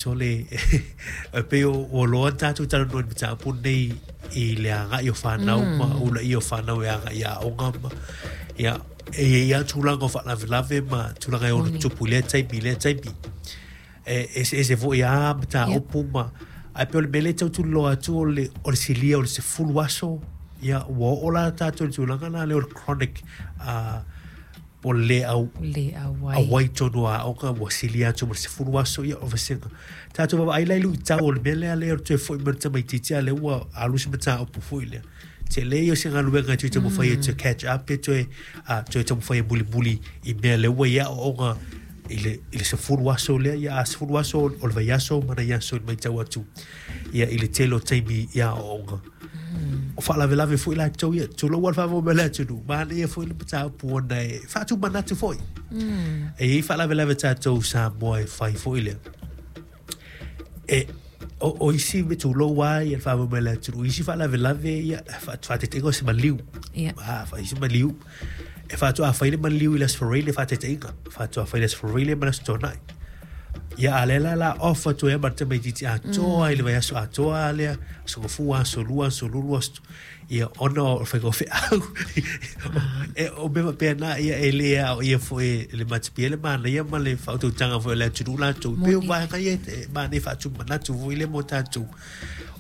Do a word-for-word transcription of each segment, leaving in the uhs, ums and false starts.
Sole, e pei o ua loa ona tatou talanoa i le mataupu lenei i le agai o fanau ma ulaia o fanau e agai i aoga ma ia e i ai lava tulaga o faalavelave ma tulaga e ono tutupu i lea taimi i lea taimi. E eseese foi lava mataupu ma ae pei o le mea lea e tau tuliloa atu o le o le silia o le sefulu aso ia ua oo la tatou i le tulaga la lea o le chronic uh, po o le le au Le auai. Auai tonu o aoga ua silia atu ma le sefulu aso ia o vasega. Tatou vaavaai la i luitau o le mea lea lea o le toe foi mai o le tamaitiiti a lea ua alu se mataupu foi lea. Tele ia o se galuega e toe taumafai e toe catch up pe toe, uh, toe taumafai e mulimuli i mea lea ua i ai aoaoga i le, i le sefulu aso lea ia a sefulu aso o le vaiaso ma nai aso i le matau atu ia i le tele o taimi i aoaoga. O faalavelave foi latou ia, tulou lava le faafofoga mai a le atunuu, manaia foi le mataupu ona e faatumanatu foi. E i ai faalavelave tatou Samoa e fai foi lea. E, o, o isi me tulou lava ia le faafofoga mai a le atunuu, isi faalavelave ia faataitaiga o se maliu. Ia. Ah, fai se maliu. E faatoa fai le maliu i le Aso Faraile faataitaiga. Faatoa fai le Aso Faraile ma le Aso Toonai. Ia a lea la la off atu ai ma le tamaitiiti atoa i le vaiaso atoa lea, aso gafua, aso lua, aso lulu, aso ia ona o le faiga o feau. E o mea faapena ia e le aoaia foi e le matapia le manaia ma le faautautaga foi o le atunuu latou. Pei o vaega ia e manaia faatumanatu foi lea mo tatou.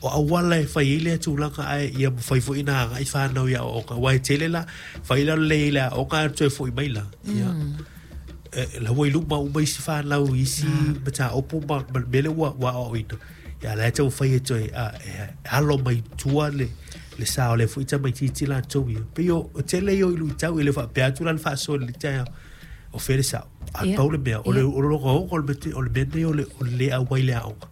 O auala e fai ai lea tulaga ae ia mafai foi ona agai fanau i aoaoga. Aua e tele la, fai la o le lelei i le aoga ae toe foi mai la. Ia. E, la ua i luma uma isi fanau i isi mataupu ma, ma le mea lea ua, ua aoaoina. Ia la e taumafai e toe a, e, alo mai tua le, le sa o lea foi tamaitiiti latou ia. Pei o, o tele ia o luitau e le faapea atu la le faasoa i le taeao. O fea le sao. A Ia. pau le mea, o le, Ia. o le ogaoga o le mea, o le mea nei o le, o le le auai i le aoga.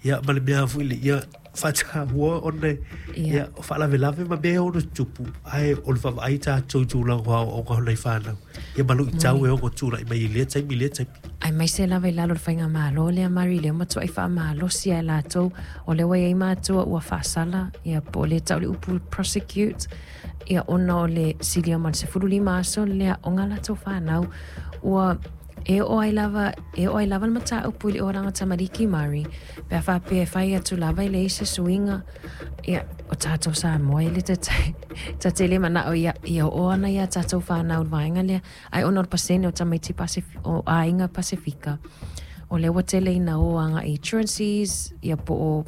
Ia, ma le mea foi le, ia, faataua ona, Ia. ia, o faalavelave ma mea e ono tutupu, ae o le vaavaai tatou i tulaga o aoaoga o nai fanau. Ia ma luitau e ono tulai mai i lea taimi i lea taimi. Aemaise lava i lalo o le faigamalo lea Mari lea matuai faamalosi ai latou o lea ua i ai matua ua faasala ia po o le tau le upu prosecute ia ona o le silia ma le sefulu lima aso le aoga latou fanau ua e oo ai lava e oo ai lava le mataupu i le olaga tamaliki Mari pe a faapea e fai atu lava i leai se suiga ia o tatou Samoa e le tatai tate le manao ia ia oo ana ia tatou fanau i le vaega lea ae ona o le pasene o tamaiti Pasif- o aiga Pasifika o lea ua tele ina o agai i truancies ia po o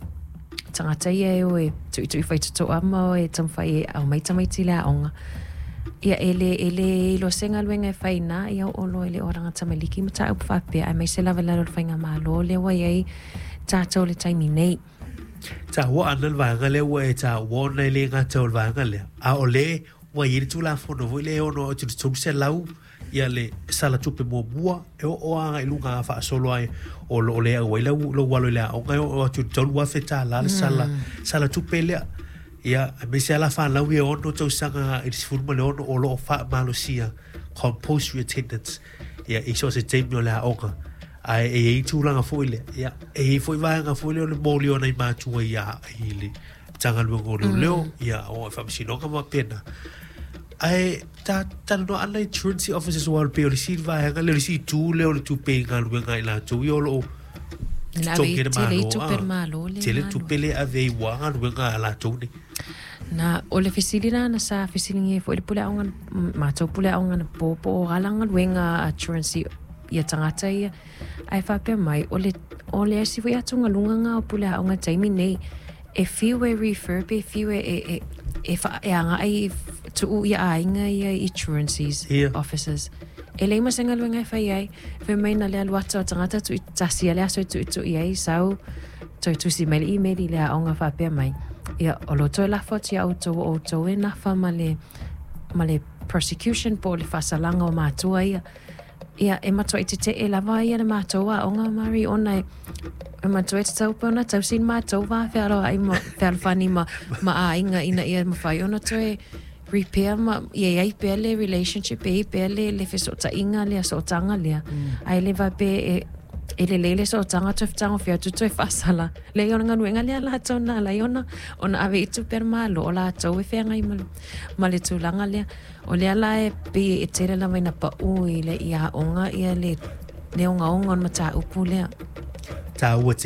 tagata ia e o e tuitui faitotoa ma o e taumafai e aumai tamaiti i le aoga ia e le e le iloa se galuega e fai ina ia oo loa i le olaga tamaliki mataupu faapea aemaise lava i lalo o le faigamalo lea ua i ai tatou le taimi nei. Taua ana le vaega lea ua e taua ona e le gata o le vaega lea. A o le ua i ai le Tulafono foi lea e ono atu i le tolu selau ia le sala tupe muamua e oo agai i luga a faasolo ai o lo o le auai lau lou alo i le aoga e oo atu i le tolu afe tala le sala sala tupe lea. Ia, aemaise lava la fanau ia e ono tausaga i le sefulu ma le ono o lo o faamalosia compulsory attendance ia i so o se taimi o le aoga. Ae e i ai tulaga foi lea. Ia, e i ai foi vaega foi lea o le moli o nai matua i a i le Matagaluega o Leoleo, ia o faamasinoga ma faapena. Ae ta talanoa ana i truancy officers aua pei o le isi vaega lea o le isi itu lea o le tupe i galuega a i latou ia o lo o Le ave totogi i e le tele i Malo. tupe Ah, le Malo le tele alu. tupe le ave ai ua galuega a latou nei. Na o le fesili la na sa fesiligia ai foi le pule aoga matou pule aoga na po po o ala galuega a truancy ia tagata ia ae faapea mai o le o le isi foi atugaluga ga o pule aoga taimi nei e fiu e refer pe fiu e e e e, fa, e agai tuu ia aiga ia i truancies Ia. officers e leai ma se galuega e fai ai fai mai na le alu atu o tagata tui tasi a le aso e tuitui ai sau toe tusi mai le email i le aoga faapea mai ia o lo toe lafo atu ia outou o outou e nafa ma le ma le prosecution po o le faasalaga o matua ia ia e matuai tetee lava ia le matou aoga Mari ona e e matua e tatau pe ona tausi le matou va fealoai ma fealofani ma, ma aiga ina ia mafai ona toe repair ma ia iai pea le relationship e iai pea le, le fesootaiga lea sootaga lea ae le faapea e e lelei le sootaga toe fetagofia atu toe faasala leai o le galuega lea latou na ala ai ona ona ave i tupe a le Malo o latou e feagai ma le, ma le tulaga lea o lea la e pei e tele lava ina pau i le i aoga ia le le ogaoga o le mataupu lea. Taua tele.